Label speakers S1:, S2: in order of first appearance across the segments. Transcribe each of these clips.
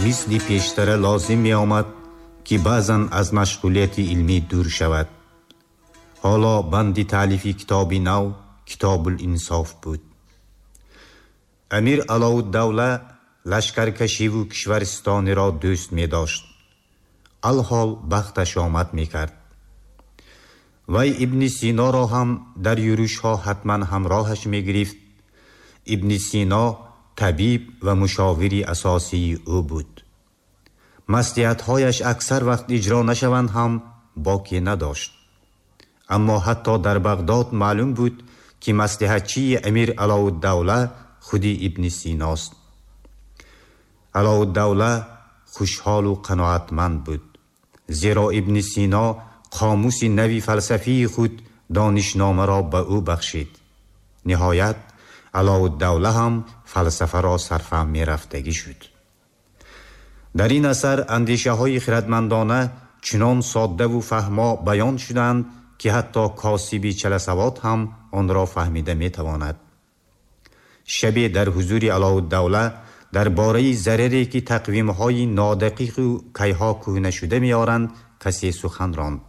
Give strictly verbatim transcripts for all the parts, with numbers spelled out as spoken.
S1: Мисли пештара лозим меомад, ки баъзан аз машғулияти илмӣ дур шавад. Ҳоло банди таълифи китоби нав, Китобул Инсоф, буд. Амир Алоуддавла лашкаркашиву кишварстониро дӯст медошт. Алҳол бахташ омад мекард. Вай Ибни Синоро ҳам дар юрушҳо ҳатман ҳамроҳаш мегирифт. Ибни Сино табиб ва мушовири асосии ӯ буд. Маслиҳатҳояш аксар вақт иҷро нашаванд ҳам, боке надошт. Аммо ҳатто дар Бағдод маълум буд, ки маслиҳатчии Амир Алоуддавла худи Ибни Синост. Алоуддавла хушҳолу қаноатманд буд, зеро Ибни Сино қомуси нави фалсафии худ, Донишномаро ба ӯ бахшид. Ниҳоят, Алоуддавла ҳам фалсафаро сарфаҳм мерафтагӣ шуд. Дар ин асар андешаҳои хирадмандона чунон соддаву фаҳмо баён шуданд, ки ҳатто косиби чаласавод ҳам онро фаҳмида метавонад. Шабе дар ҳузури Алоуддавла дар бораи зараре, ки тақвимҳои нодақиқу кайҳо кӯҳнашуда меоранд, касе сухан ронд.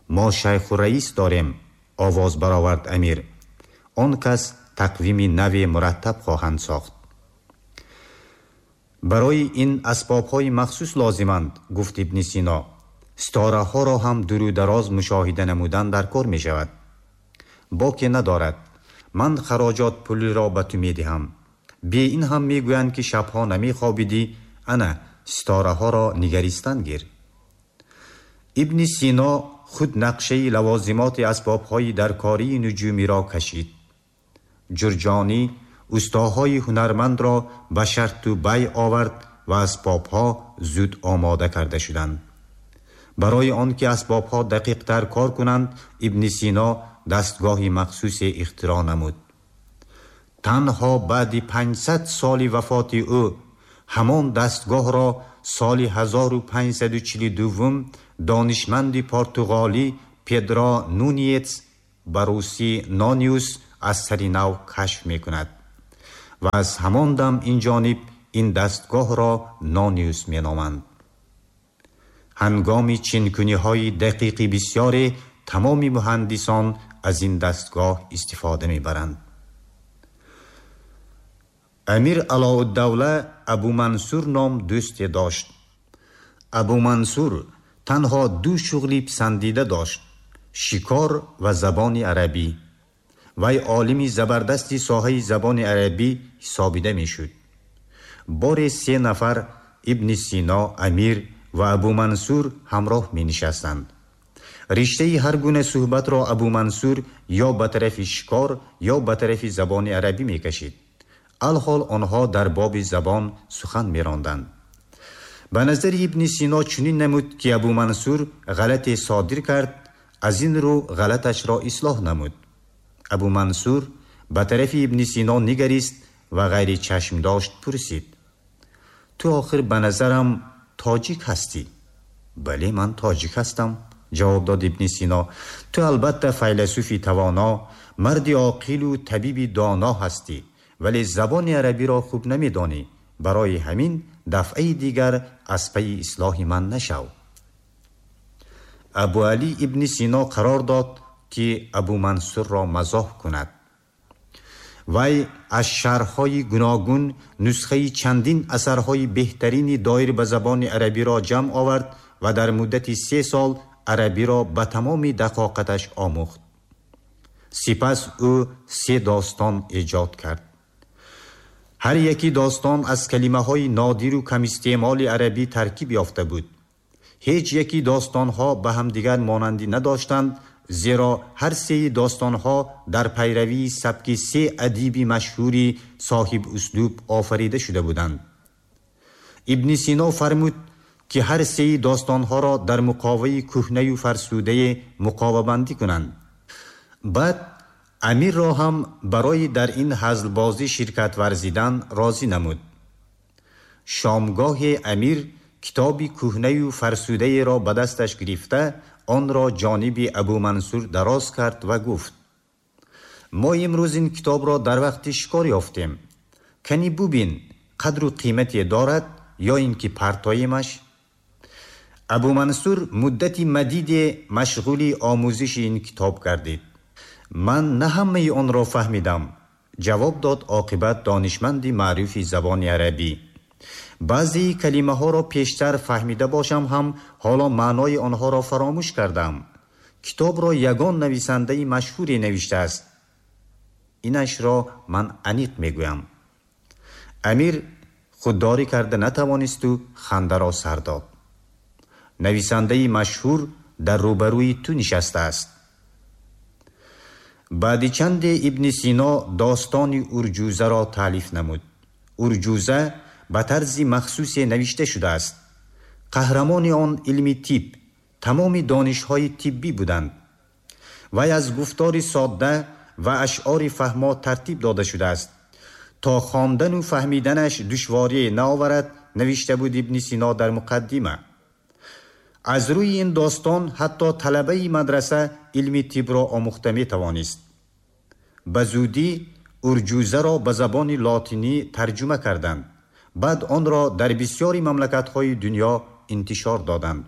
S1: «Мо шайху раис дорем», овоз баровард амир. «Он кас тақвими наве мураттаб хоҳанд сохт». «Барои ин асбобҳои махсус лозиманд», гуфт Ибни Сино. «Ситораҳоро ҳам дуру дароз мушоҳида намудан дар кор мешавад». «Боке надорад, ман хароҷот пулиро ба ту медиҳам. Бе ин ҳам мегӯянд, ки шабҳо намехобидӣ. Ана, ситораҳоро нигаристан гир». Ибни Сино худ нақшаи лавозимоти асбобҳои даркории нуҷумиро кашид. Ҷурҷонӣ устоҳои ҳунармандро ба шарту бай овард ва асбобҳо зуд омода карда шуданд. Барои он ки асбобҳо дақиқтар кор кунанд, Ибни Сино дастгоҳи махсусе ихтироъ намуд. Танҳо баъди панҷсад соли вафоти ӯ ҳамон дастгоҳро соли ҳазору панҷсаду чилу ду донишманди портуғолӣ Педро Нуниец, ба русӣ Нониус, аз сари нав кашф мекунад ва аз ҳамон дам ин ҷониб ин дастгоҳро Нониус меноманд. Ҳангоми чинкуниҳои дақиқи бисёре тамоми муҳандисон аз ин дастгоҳ истифода мебаранд. Амир Алоуддавла Абумансур ном дӯсте дошт. Абумансур танҳо ду шуғли писандида дошт: шикор ва забони арабӣ. Вай олими забардасти соҳаи забони арабӣ ҳисобида мешуд. Боре се нафар, Ибни Сино, амир ва Абумансур, ҳамроҳ менишастанд. Риштаи ҳар гуна суҳбатро Абумансур ё ба тарафи шикор, ё ба тарафи забони арабӣ мекашид. Алҳол онҳо дар боби забон сухан меронданд. Ба назари Ибни Сино чунин намуд, ки Абумансур ғалате содир кард, аз ин рӯ ғалаташро ислоҳ намуд. Абумансур ба тарафи Ибни Сино нигарист ва ғайричашмдошт пурсид: «Ту охир ба назарам тоҷик ҳастӣ?» «Бале, ман тоҷик ҳастам», ҷавоб дод Ибни Сино. «Ту албатта файласуфи тавоно, марди оқилу табиби доно ҳастӣ, вале забони арабиро хуб намедонӣ. Барои ҳамин дафъаи дигар аз пайи ислоҳи ман нашав». Абуалӣ Ибни Сино қарор дод, ки Абумансурро мазоҳ кунад. Вай аз шарҳҳои гуногун нусхаи чандин асарҳои беҳтарини доир ба забони арабиро ҷамъ овард ва дар муддати се сол арабиро ба тамоми дақоқаташ омӯхт. Сипас ӯ се достон эҷод кард. Ҳар яки достон аз калимаҳои нодиру камистеъмоли арабӣ таркиб ёфта буд. Ҳеҷ яки достонҳо ба ҳамдигар монандӣ надоштанд, зеро ҳар сеи достонҳо дар пайравии сабки се адиби машҳури соҳиб услуб офарида шуда буданд. Ибни Сино фармуд, ки ҳар сеи достонҳоро дар муқоваи кӯҳнаю фарсудае муқовабандӣ кунанд. Баъд амирро ҳам барои дар ин ҳазлбозӣ ширкат варзидан розӣ намуд. Шомгоҳе амир китоби кӯҳнаю фарсудаеро ба дасташ гирифта, онро ҷониби Абумансур дароз кард ва гуфт: «Мо имрӯз ин китобро дар вақти шикор ёфтем. Кани бубин, қадру қимате дорад ё ин ки партоемаш? Абу Мансур муддати мадиде машғули омӯзиши ин китоб гардид. Ман на ҳамаи онро фаҳмидам, ҷавоб дод оқибат донишманди маъруфи забони арабӣ. Баъзеи калимаҳоро пештар фаҳмида бошам ҳам ҳоло маънои онҳоро фаромӯш кардам. Китобро ягон нависандаи машҳуре навиштааст. Инашро ман аниқ мегӯям. Амир худдорӣ карда натавонисту хандаро сар дод. Нависандаи машҳур дар рӯбарӯи ту нишастааст. Баъди чанде Ибни Сино достони Урҷузаро таълиф намуд. Урҷуза ба тарзи махсусе навишта шудааст. Қаҳрамони он илми тиб, тамоми донишҳои тиббӣ буданд. Вай аз гуфтори содда ва ашъори фаҳмо тартиб дода шудааст. То хондану фаҳмиданаш душворие наоварад, навишта буд Ибни Сино дар муқаддима. Аз рӯи ин достон ҳатто талабаи мадраса илми тибро омӯхта метавонист. Ба зудӣ Урҷузаро ба забони лотинӣ тарҷума карданд. Баъд онро дар бисёри мамлакатҳои дунё интишор доданд.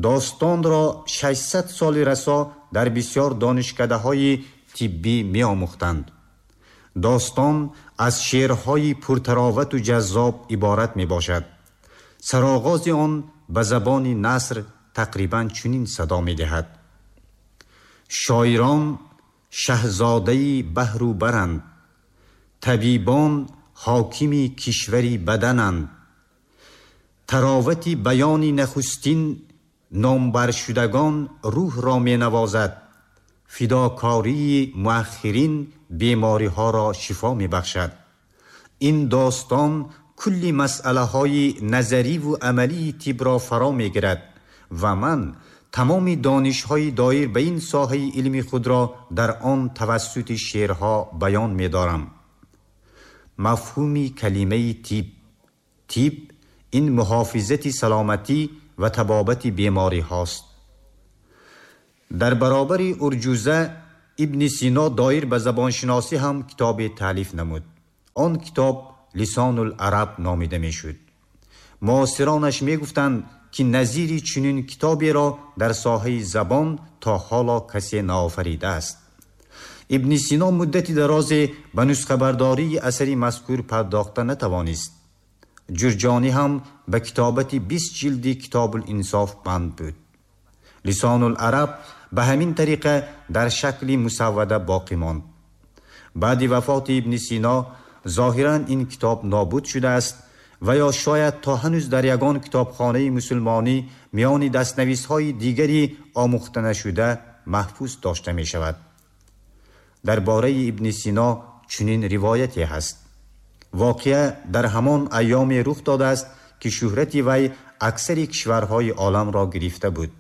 S1: Достонро шашсад соли расо дар бисёр донишкадаҳои тиббӣ меомӯхтанд. Достон аз шеърҳои пуртаровату ҷаззоб иборат мебошад. Сароғози он ба забони наср тақрибан чунин садо медиҳад: шоирон шаҳзодаи баҳру баранд, табибон ҳокими кишвари бадананд. Таровати баёни нахустин номбаршудагон рӯҳро менавозад, фидокории муаххирин бемориҳоро шифо мебахшад. Ин достон кулли масъалаҳои назариву амалии тибро фаро мегирад ва ман тамоми донишҳои доир ба ин соҳаи илми худро дар он тавассути шеърҳо баён медорам. Мафҳуми калимаи тиб. Тиб ин муҳофизати саломатӣ ва табобати бемориҳост. Дар баробари Урҷуза Ибни Сино доир ба забоншиносӣ ҳам китобе таълиф намуд. Он китоб Лисонул Араб номида мешуд. Муосиронаш мегуфтанд, ки назири чунин китоберо дар соҳаи забон то ҳоло касе наофаридааст. Ибни Сино муддати дарозе ба нусхабардории асари мазкур пардохта натавонист. Ҷурҷонӣ ҳам ба китобати бист ҷилди Китобул Инсоф банд буд. Лисонул Араб ба ҳамин тариқа дар шакли мусаввада боқӣ монд. Баъди вафоти Ибни Сино зоҳиран ин китоб нобуд шудааст ва ё шояд то ҳанӯз дар ягон китобхонаи мусулмонӣ миёни дастнависҳои дигари омӯхта нашуда маҳфуз дошта мешавад. Дар бораи Ибни Сино чунин ривояте ҳаст. Воқеа дар ҳамон айёме рух додааст, ки шӯҳрати вай аксари кишварҳои оламро гирифта буд.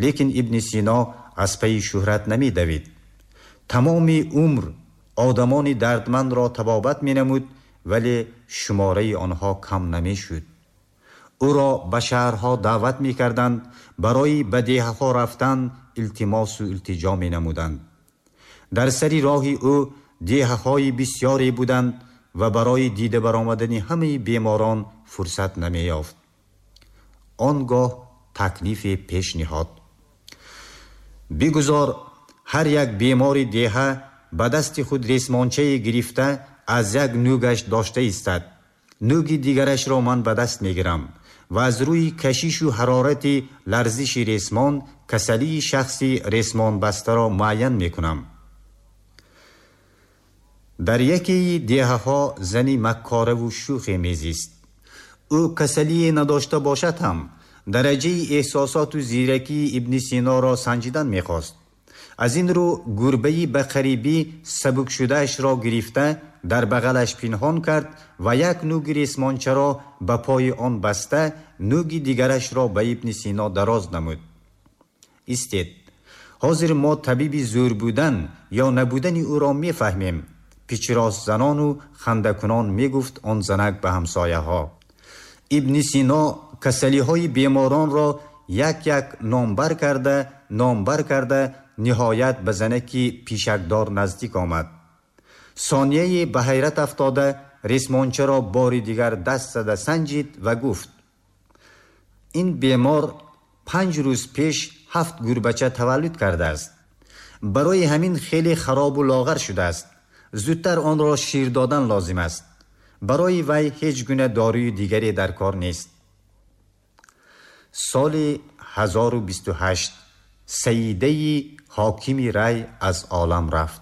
S1: Лекин Ибни Сино аз пайи шӯҳрат намедавид. Тамоми умр одамони дардмандро табобат менамуд, вале шумораи онҳо кам намешуд. Ӯро ба шаҳрҳо даъват мекарданд, барои ба деҳаҳо рафтан илтимосу илтиҷо менамуданд. Дар сари роҳи ӯ деҳаҳои бисёре буданд ва барои дида баромадани ҳамаи беморон фурсат намеёфт. Он гоҳ таклифе пеш ниҳод. Бигузор ҳар як бемори деҳа ба дасти худ ресмончае гирифта аз як нӯгаш дошта истад. Нӯги дигарашро ман ба даст мегирам ва аз рӯи кашишу ҳарорати ларзиши ресмон касалии шахси ресмонбастаро муайян мекунам. Дар якеи деҳаҳо зани маккораву шӯхе мезист. Ӯ касалие надошта бошад ҳам дараҷаи эҳсосоту зиракии Ибни Синоро санҷидан мехост. Аз ин рӯ гурбаи ба қарибӣ сабукшудаашро гирифта дар бағалаш пинҳон кард ва як нӯги ресмончаро ба пои он баста нӯги дигарашро ба Ибни Сино дароз намуд. Истед, ҳозир мо табиби зӯр будан ё набудани ӯро мефаҳмем, пичиростзанону хандакунон мегуфт он занак ба ҳамсояҳо. Ибни Сино касалиҳои беморонро як як номбар карда номбар карда ниҳоят ба занаки пишакдор наздик омад. Сонияе ба ҳайрат афтода ресмонча ро бори дигар даст зада санҷид ва гуфт: ин бемор панҷ рӯз пеш ҳафт гурбача таваллуд кардааст. Барои ҳамин хеле хароб у лоғар шудааст. Зудтар онро шир додан лозим аст. Барои вай ҳеҷ гуна доруи дигаре дар кор нест. Соли ҳазору бисту ҳашт саидаи ҳокими Рай аз олам рафт.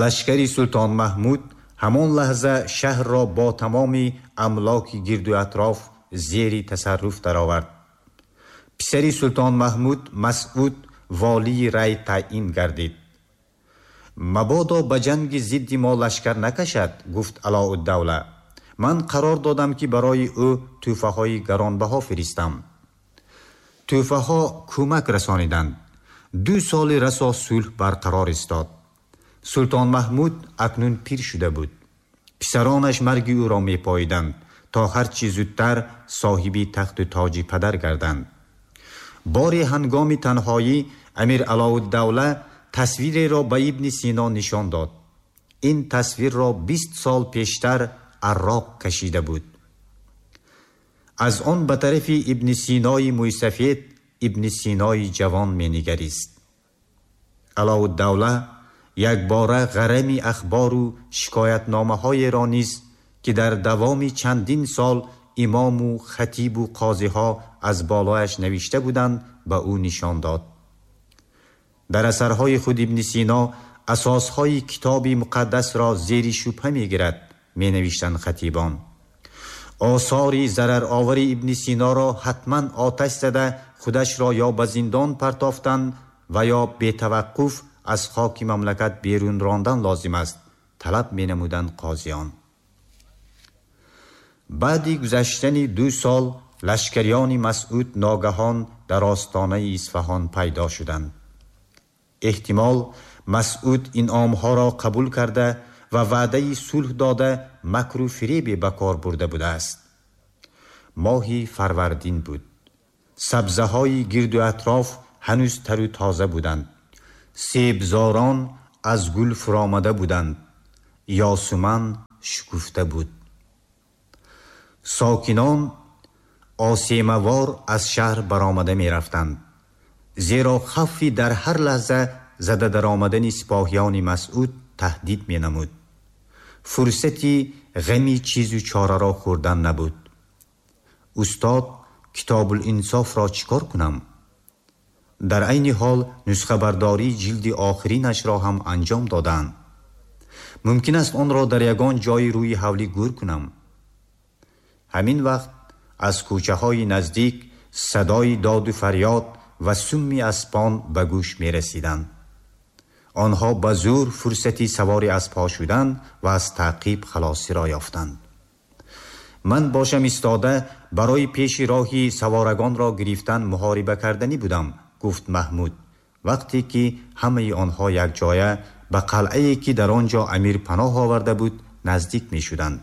S1: Лашкари Султон Маҳмуд ҳамон лаҳза шаҳрро бо тамоми амлоки гирду атроф зери тасарруф даровард. Писари Султон Маҳмуд Масъуд волии Рай таъин гардид. Мабодо ба ҷанги зидди мо лашкар накашад, гуфт Алоуддавла. Ман қарор додам, ки барои ӯ тӯҳфаҳои гаронбаҳо фиристам. Тӯҳфаҳо кӯмак расониданд. Ду соли расо сулҳ барқарор истод. Султон Маҳмуд акнун пир шуда буд. Писаронаш марги ӯро мепоиданд, то ҳарчи зудтар соҳиби тахту тоҷи падар гарданд. Бори ҳангоми танҳоӣ Амир Алоуддавла тасвиреро ба Ибни Сино нишон дод. Ин тасвирро бист сол пештар Арроқ кашида буд. Аз он ба тарафи Ибни Синои мӯйсафед Ибни Синои ҷавон менигарист. Алоуддавла якбора ғарами ахбору шикоятномаҳоеро низ, ки дар давоми чандин сол имому хатибу қозиҳо аз болояш навишта буданд, ба ӯ нишон дод. Дар асарҳои худ Ибни Сино асосҳои китоби муқаддасро зери шубҳа мегирад, менавиштанд хатибон. Осори зараровари Ибни Синоро ҳатман оташ зада худашро ё ба зиндон партофтан ва ё бетаваққуф аз хоки мамлакат берун рондан лозим аст, талаб менамуданд қозиён. Баъди гузаштани ду сол лашкариёни Масъуд ногаҳон дар остонаи Исфаҳон пайдо шуданд. Эҳтимол Масъуд инъомҳоро қабул карда ва ваъдаи сулҳ дода макру фиребе ба кор бурда будааст. Моҳи фарвардин буд. Сабзаҳои гирду атроф ҳанӯз тару тоза буданд. Себзорон аз гул фуромада буданд. Ёсуман шукуфта буд. Сокинон осемавор аз шаҳр баромада мерафтанд, зеро хавфи дар ҳар лаҳза зада даромадани сипоҳиёни Масъуд таҳдид менамуд. Фурсати ғами чизу чораро хӯрдан набуд. Устод, Китобулинсофро чӣ кор кунам? Дар айни ҳол нусхабардории ҷилди охиринашро ҳам анҷом доданд. Мумкин аст онро дар ягон ҷои рӯи ҳавлӣ гӯр кунам. Ҳамин вақт аз кӯчаҳои наздик садои доду фарёд ва сумми аспон ба гӯш мерасиданд. Онҳо ба зӯр фурсати савори аспҳо шуданд ва аз таъқиб халосиро ёфтанд. Ман бошам истода барои пеши роҳи саворагонро гирифтан муҳориба карданӣ будам, гуфт Маҳмуд, вақте ки ҳамаи онҳо якҷоя ба қалъае ки дар он ҷо амир паноҳ оварда буд наздик мешуданд.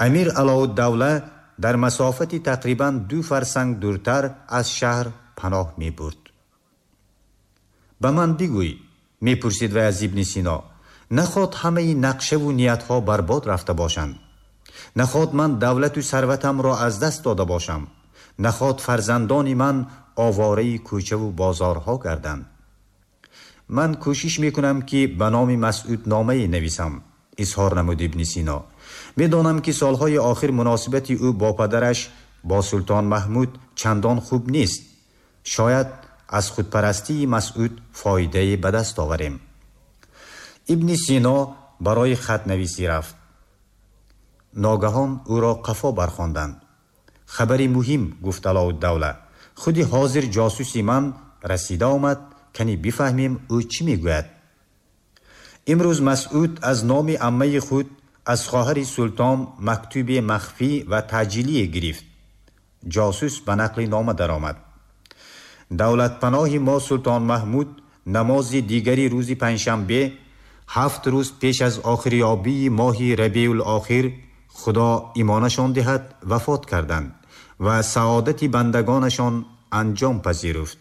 S1: Амир Алоуддавла дар масофати тақрибан ду фарсанг дуртар аз шаҳр паноҳ мебурд. Ба ман бигӯй, мепурсид вай аз Ибни Сино, наход ҳамаи нақшаву ниятҳо барбод рафта бошанд? Наход ман давлату сарватамро аз даст дода бошам? Наход фарзандони ман овораи кӯчаву бозорҳо гарданд? Ман кӯшиш мекунам, ки ба номи Масъуд номае нависам, изҳор намуд Ибни Сино. Медонам, ки солҳои охир муносибати ӯ бо падараш, бо Султон Маҳмуд, чандон хуб нест. Шояд аз худпарастии Масъуд фоидае ба даст оварем. Ибни Сино барои хатнависӣ рафт. Ногаҳон ӯро қафо бархонданд. Хабари муҳим, гуфт Алоуддавла. Худи ҳозир ҷосуси ман расида омад, кани бифаҳмем ӯ чӣ мегӯяд. Имрӯз Масъуд аз номи аммаи худ аз хоҳари султон мактуби махфӣ ва таъҷилие гирифт. Ҷосус ба нақли нома даромад. Давлатпаноҳи мо Султон Маҳмуд намози дигари рӯзи панҷшанбе, ҳафт рӯз пеш аз охирёбии моҳи Рабеул-охир, Худо имонашон диҳад, вафот карданд ва саодати бандагонашон анҷом пазируфт.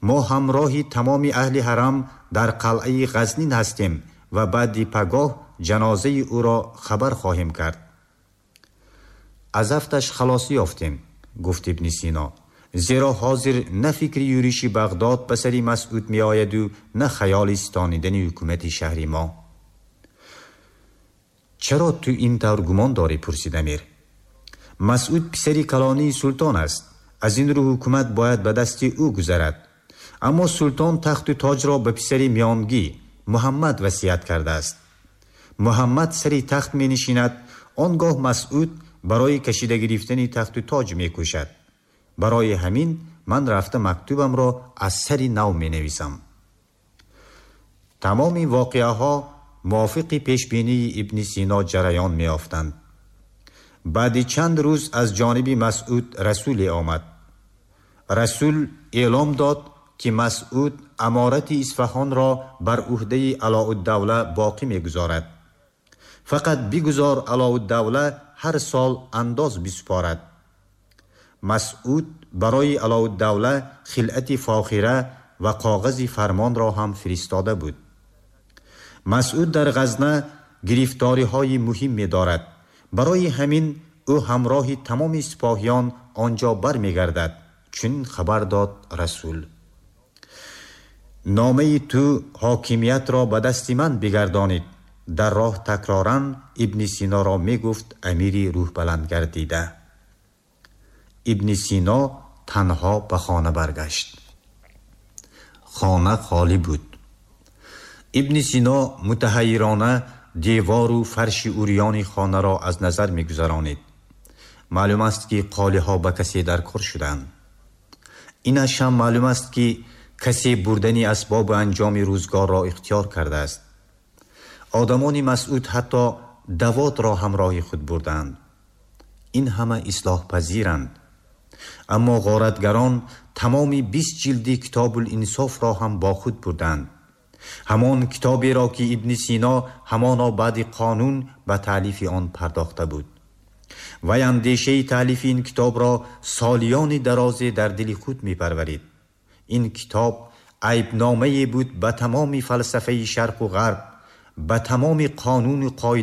S1: Мо ҳамроҳи тамоми аҳли ҳарам дар қалъаи Ғазнин ҳастем ва баъди пагоҳ ҷанозаи ӯро хабар хоҳем кард. Аз афташ халосӣ ёфтем, гуфт Ибни Сино, зеро ҳозир на фикри юриши Бағдод ба сари Масъуд меояду на хаёли ситонидани ҳукумати шаҳри мо. Чаро ту ин тавр гумон дорӣ? Пурсид амир. Масъуд писари калонии султон аст. Аз ин рӯ ҳукумат бояд ба дасти ӯ гузарад. Аммо султон тахту тоҷро ба писари миёнгӣ Муҳаммад васият кардааст. Муҳаммад сари тахт менишинад, он гоҳ Масъуд барои кашида гирифтани тахту тоҷ мекӯшад. Барои ҳамин ман рафта мактубамро аз сари нав менависам. Тамоми воқеаҳо мувофиқи пешбинии Ибни Сино ҷараён меёфтанд. Баъди чанд рӯз аз ҷониби Масъуд расуле омад. Расул эълом дод, ки Масъуд аморати Исфаҳонро бар ӯҳдаи Алоуддавла боқӣ мегузорад. Фақат бигузор Алоуддавла ҳар сол андоз бисупорад. Масъуд барои Алоуддавла хилъати фохира ва коғази фармонро ҳам фиристода буд. Масъуд дар Ғазна гирифториҳои муҳим медорад. Барои ҳамин ӯ ҳамроҳи тамоми сипоҳиён он ҷо бармегардад, чунин хабар дод расул. Номаи ту ҳокимиятро ба дасти ман бигардонид, дар роҳ такроран Ибни Синоро мегуфт амири рӯҳбаландгардида. Ибни Сино танҳо ба хона баргашт. Хона холӣ буд. Ибни Сино мутаҳайирона девору фарши урёни хонаро аз назар мегузаронид. Маълум аст, ки қолиҳо ба касе дар кор шуданд. Инаш ҳам маълум аст, ки касе бурдани асбобу анҷоми рӯзгорро ихтиёр кардааст. Одамони Масъуд ҳатто давотро ҳамроҳи худ бурданд. Ин ҳама ислоҳпазиранд. Аммо ғоратгарон тамоми бист ҷилди Китобул Инсофро ҳам бо худ бурданд. Ҳамон китоберо, ки Ибни Сино ҳамоно баъди қонун ба таълифи он пардохта буд. Вай андешаи таълифи ин китобро солиёни дарозе дар дили худ мепарварид. Ин китоб айбномае буд ба тамоми фалсафаи шарқу ғарб, ба тамоми қонуну қоида.